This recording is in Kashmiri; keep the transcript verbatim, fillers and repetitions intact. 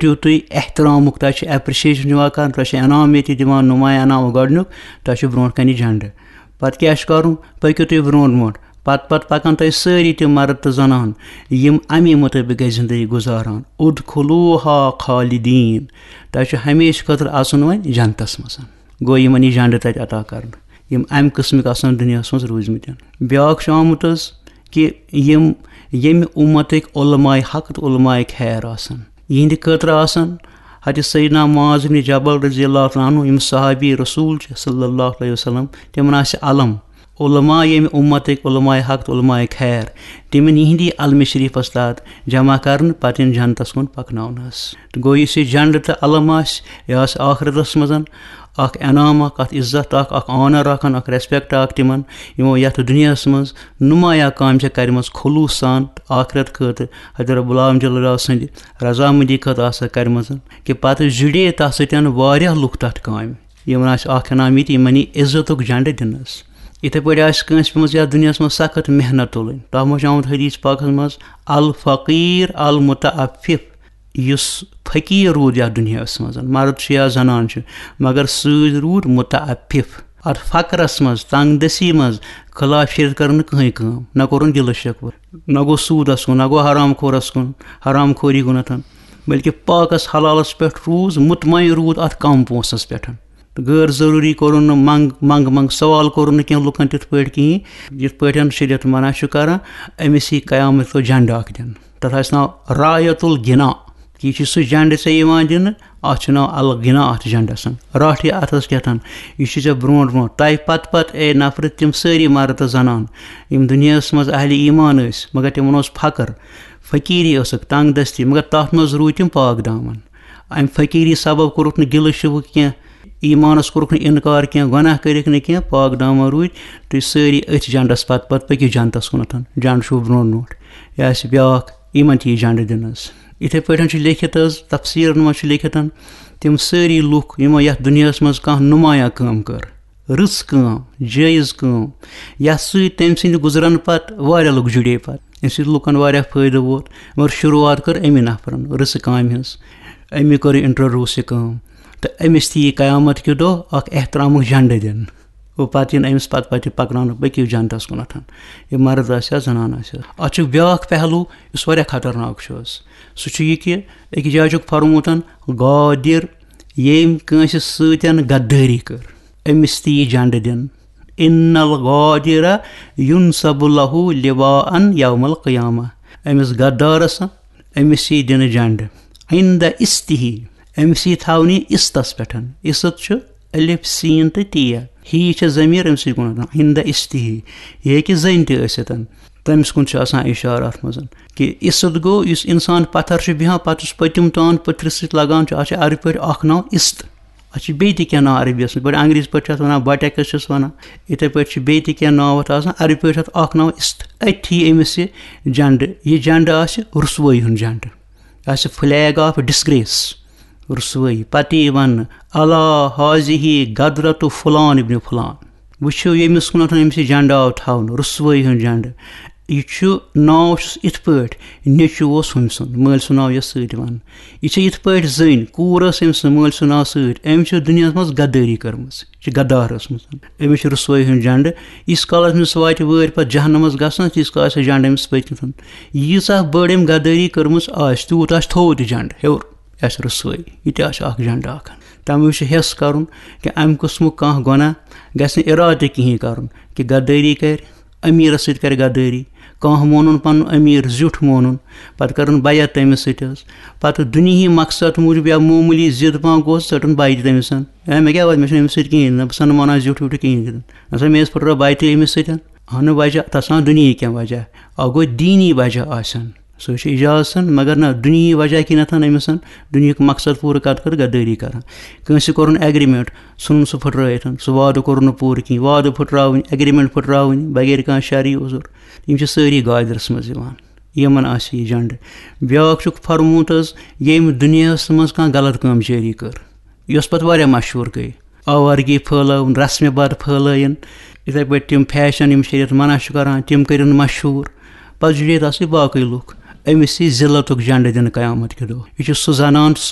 یُتھُے تُہۍ احترامُک، تۄہہِ چھِ اپریشیشن یِوان کرنہٕ، تۄہہِ چھِ انعام ییٚتہِ دِوان، نمایاں انعام گۄڈٕنیُک، تۄہہِ چھُ برونٛٹھ کنہِ جھنڈٕ۔ پتہٕ کیٛاہ چھُ کرُن؟ پٔکِو تُہۍ برونٛٹھ برونٛٹھ۔ پتہٕ پتہٕ پکن تۄہہِ سٲری تِم مرد تہٕ زنان، یِم امی مطٲبق گژھِ زندگی گُزاران۔ ادخلوها خالدین، تۄہہِ چھُ ہمیشہٕ خٲطرٕ اژُن وۄنۍ جنتس منٛز۔ گوٚو یِمن یہِ جنڈٕ تتہِ عطا کرنہٕ، یِم امہِ قٕسمٕکۍ آسن دُنیاہس منٛز روٗزمٕتۍ۔ بیٛاکھ چھُ آمُت حظ کہِ یِم ییٚمہِ اُمتٕکۍ علماء حق تہٕ علماء خیر آسن، یِہنٛدِ خٲطرٕ آسن حضرت سیدنا معاذ بن جبل رضی اللہ تعالیٰ عنہ، یِم صحابی رسول چھِ صلی اللہ علیہ وسلم، تِمن آسہِ علم۔ علماء ییٚمہِ اُمتٕکۍ علماء حق تہٕ علماء خیر، تِمن یِہنٛدی علمِ شریفس تحت جمع کرنہٕ، پتہٕ یِن جنتس کُن پکناونہٕ حظ۔ تہٕ گوٚو یُس یہِ جنڈٕ تہٕ علم آسہِ، یہِ آسہِ آخرتس منٛز اکھ انعام، اکھ اکھ عزت، اکھ اکھ آنر، اکھ اکھ ریسپیکٹ اکھ تِمن، یِمو یتھ دُنیاہس منٛز نمایاں کامہِ چھےٚ کرِمژ خلوص سان تہٕ آخرت خٲطرٕ حضرت رب العالمین جل جلالہ سٕنٛدِ رضامندی خٲطرٕ آسہِ سۄ کرِمژ، کہِ پتہٕ جُڑے تتھ سۭتۍ واریاہ لُکھ تتھ کامہِ۔ یِمن آسہِ اکھ انعام یہِ تہِ، یِمن یی عزتُک جنڈٕ دِنس۔ یِتھے پٲٹھۍ آسہِ کٲنٛسہِ پیٚمٕژ یتھ دُنیاہس منٛز سخت محنت تُلٕنۍ، تتھ منٛز چھُ آمُت حدیث پاکس منٛز، الفقیر المتعفف، یُس فقیٖر روٗد یَتھ دُنیاہَس منٛز، مرد چھُ یا زنان چھُ، مگر سۭتۍ روٗد متعفف۔ اَتھ فقرَس منٛز، تنگ دستی منٛز خلاف شریعت کٔر نہٕ کٕہٕنۍ کٲم، نہ کوٚرُن گِلہٕ شِکوٕ، نہ گوٚو سوٗدَس کُن، نہ گوٚو حرام خورَس کُن، حرام خوری گوٚو نہٕ، بلکہِ پاکَس حلالَس پٮ۪ٹھ روٗز، مطمئن روٗد اَتھ کم پونٛسَس پٮ۪ٹھ۔ تہٕ غٲر ضروٗری کوٚرُن نہٕ منٛگ، منٛگ، منٛگ سوال کوٚرُن نہٕ کینٛہہ لُکَن تِتھ پٲٹھۍ کِہیٖنۍ، یِتھ پٲٹھۍ شریعت منع چھُ کران۔ أمِس یی قیامت دۄہ جنڈٕ اکھ دِنہٕ۔ تَتھ آسہِ ناو رایت الغنا۔ یہِ چھُ سُہ جنڈٕ ژےٚ یِوان دِنہٕ، اَتھ چھُ ناو الغنا اَتھ جنڈَس۔ راٹھ یہِ اَتھَس کیٛاہ تھَن، یہِ چھُ ژےٚ برونٛٹھ برونٛٹھ۔ تۄہہِ پَتہٕ پَتہٕ، اے نفرٕ، تِم سٲری مرد تہٕ زنان، یِم دُنیاہَس منٛز اہلِ ایمان ٲسۍ، مگر تِمَن اوس فقر، فقیٖری ٲسٕکھ، تنگ دستی، مگر تَتھ منٛز روٗدۍ تِم پاک دامن۔ اَمہِ فقیٖری سبب کوٚرُکھ نہٕ گِلہٕ شِکوٕ کینٛہہ، ایمانس کوٚرُکھ نہٕ اِنکار کینٛہہ، گۄناہ کٔرِکھ نہٕ کینٛہہ، پاک دامن روٗدۍ۔ تُہۍ سٲری أتھۍ جنڈس پتہٕ پتہٕ پٔکِو جنتس کُنتھ۔ جنڈٕ چھُو برونٛٹھ برونٛٹھ۔ یہِ آسہِ بیٛاکھ، یِمن تہِ یی جنڈٕ دِنہٕ حظ۔ یِتھے پٲٹھۍ چھُ لیکھِتھ حظ، تفسیٖرن منٛز چھُ لیکھِتھ، تِم سٲری لُکھ یِمو یتھ دُنیاہس منٛز کانٛہہ نمایاں کٲم کٔر، رٕژ کٲم، جٲیز کٲم، یتھ سۭتۍ تٔمۍ سٕنٛدِ گُزرن پتہٕ واریاہ لُکھ جُڑے پتہٕ۔ اَمہِ سۭتۍ لُکن واریاہ فٲیدٕ ووت، مگر شروٗعات کٔر أمی نفرن رٕژٕ کامہِ ہٕنٛز۔ أمی کٔر introduce یہِ کٲم۔ تہٕ أمِس تہِ یی قیامت کہِ دۄہ اکھ احترامُک جنڈٕ دِنہٕ۔ گوٚو پتہٕ یِن أمِس پتہٕ پتہٕ یہِ پکناونہٕ، پٔکِو جنتس کُنتھ۔ یہِ مرد آسہِ یا زنان آسہِ۔ اتھ چھُ بیٛاکھ پہلو یُس واریاہ خطرناک چھُ حظ۔ سُہ چھُ یہِ کہِ أکِس جایہِ چھُکھ فرمومُت، غادر، ییٚمۍ کٲنٛسہِ سۭتۍ غدٲری کٔر، أمِس تہِ یی جنڈٕ دِنہٕ۔ ان الغادر ینصب لہ لواء یوم القیامہ۔ أمِس غدارس، أمِس یی دِنہٕ جنڈٕ۔ عند استہ، أمِس یی تھاونہٕ عستس پٮ۪ٹھ۔ عست چھُ الف، سین تہٕ تے۔ ہی چھےٚ ضمیر، أمِس یی کُن۔ عند استہ، یہِ ہیٚکہِ زٔنۍ تہِ ٲسِتھ۔ تٔمِس کُن چھُ آسان اِشارٕ اَتھ منٛز کہِ عست گوٚو یُس اِنسان پَتھر چھُ بیٚہوان، پَتہٕ یُس پٔتِم تان پٔتھرِس سۭتۍ لَگان چھُ، اَتھ چھُ عربی پٲٹھۍ اَکھ ناو عست۔ اَتھ چھِ بیٚیہِ تہِ کینٛہہ ناو عربی یَس منٛز، پٲٹھۍ انگریزی پٲٹھۍ چھِ اَتھ وَنان buttocks چھِس وَنان، یِتھَے پٲٹھۍ چھِ بیٚیہِ تہِ کینٛہہ ناو اَتھ آسان۔ عربی پٲٹھۍ چھُ اَتھ اَکھ ناو عست۔ أتھی أمِس یہِ جنڈٕ، یہِ جنڈٕ آسہِ رُسوٲیی ہُنٛد جنڈٕ، یہِ آسہِ flag of disgrace، رُسوٲیی۔ پَتہٕ یی وَننہٕ، الا حاضی غدرت فلان ابن فلان۔ وٕچھِو، ییٚمِس کُنَتھ أمِس یہِ جنڈٕ آو تھاونہٕ، رُسوٲیی ہُنٛد جنڈٕ۔ یہِ چھُ، ناو چھُس یِتھ پٲٹھۍ، نیٚچوٗ اوس ہُمۍ سُنٛد، مٲلۍ سُنٛد ناو یَس سۭتۍ وَنہٕ۔ یہِ چھِ یِتھ پٲٹھۍ زٔنۍ، کوٗر ٲس أمۍ سٕنٛز مٲلۍ سُنٛد ناو سۭتۍ، أمۍ چھِ دُنیاہَس منٛز غدٲری کٔرمٕژ، یہِ چھِ غدار ٲسمٕژ۔ أمِس چھِ رُسوٲیی ہُنٛد جنڈٕ۔ ییٖتِس کالَس أمِس واتہِ وٲرۍ پَتہٕ جہنمَس گژھنَس، تیٖتِس کالَس آسہِ جنڈٕ أمِس پٔتۍ کِنۍ۔ ییٖژاہ بٔڑ أمۍ غدٲری کٔرمٕژ آسہِ، تیوٗت آسہِ تھوٚومُت یہِ جنڈٕ ہیوٚر۔ یہِ آسہِ رُسوٲیی، یہِ تہِ آسہِ اَکھ جنڈٕ اَکھ۔ تَمہِ وِزِ چھُ حٮ۪س کَرُن کہِ اَمہِ قٕسمُک کانٛہہ گۄناہ گژھِ نہٕ اِرادٕ کِہیٖنۍ کَرُن کہِ غدٲری کَرِ، أمیٖرَس سۭتۍ کَرِ غدٲری، کانٛہہ مونُن پَنُن أمیٖر زیُٹھ مونُن، پَتہٕ کَرُن بیعت تٔمِس سۭتۍ حظ۔ پَتہٕ دُنیاہی مقصد موٗجوٗب یا معموٗلی ضِد پانٛژھ گوٚو، ژٔٹُن بیعت تٔمِس۔ ہے، مےٚ کیٛاہ وَتہِ، مےٚ چھُنہٕ أمِس سۭتۍ کِہیٖنۍ، نہ بہٕ سَنہٕ مانان زیُٹھ ویُٹھ کِہیٖنۍ۔ نہ سا، مےٚ ٲس پھٕٹرٲو بیعتٕے أمِس سۭتۍ۔ اَہنُو وجہ، تَتھ چھِ آسان دُنیاہی کینٛہہ وجہ۔ اَکھ گوٚو دیٖنی وجہ آسن۔ سُہ چھُ اِجازَتَن، مگر نہ، دُنیاہی وجہ کِنٮ۪تھ أمِس، دُنیاہُک مقصد پوٗرٕ کَتھ کٔر غدٲری کَران۔ کٲنٛسہِ کوٚرُن ایگریمنٹ، ژھُنُن سُہ پھٕٹرٲیِتھ، سُہ وعدٕ کوٚرُن نہٕ پوٗرٕ کِہیٖنۍ، وعدٕ پھٕٹراوٕنۍ، ایگریمنٹ پھٕٹراوٕنۍ، بغیر کانٛہہ شرعی عذر۔ یِم چھِ سٲری غادرَس منٛز یِوان، یِمَن آسہِ یہِ جنڈٕ۔ بیٛاکھ چھُکھ فرمومُت حظ، ییٚمۍ دُنیاہَس منٛز کانٛہہ غلط کٲم جٲری کٔر، یۄس پَتہٕ واریاہ مشہوٗر گٔے۔ آوارگی پھٲلٲوٕن، رسمِ بد پھٲلٲیِن، یِتھَے پٲٹھۍ تِم فیشن یِم شریعت منع چھُ کران، تِم کٔرِن مشہوٗر۔ پتہٕ جُڑے تَتھ سۭتۍ باقٕے لُکھ۔ أمِس یی ذلتُک جنڈٕ دِنہٕ قیامت کہِ دۄہ۔ یہِ چھُ سُہ زنان تہٕ سُہ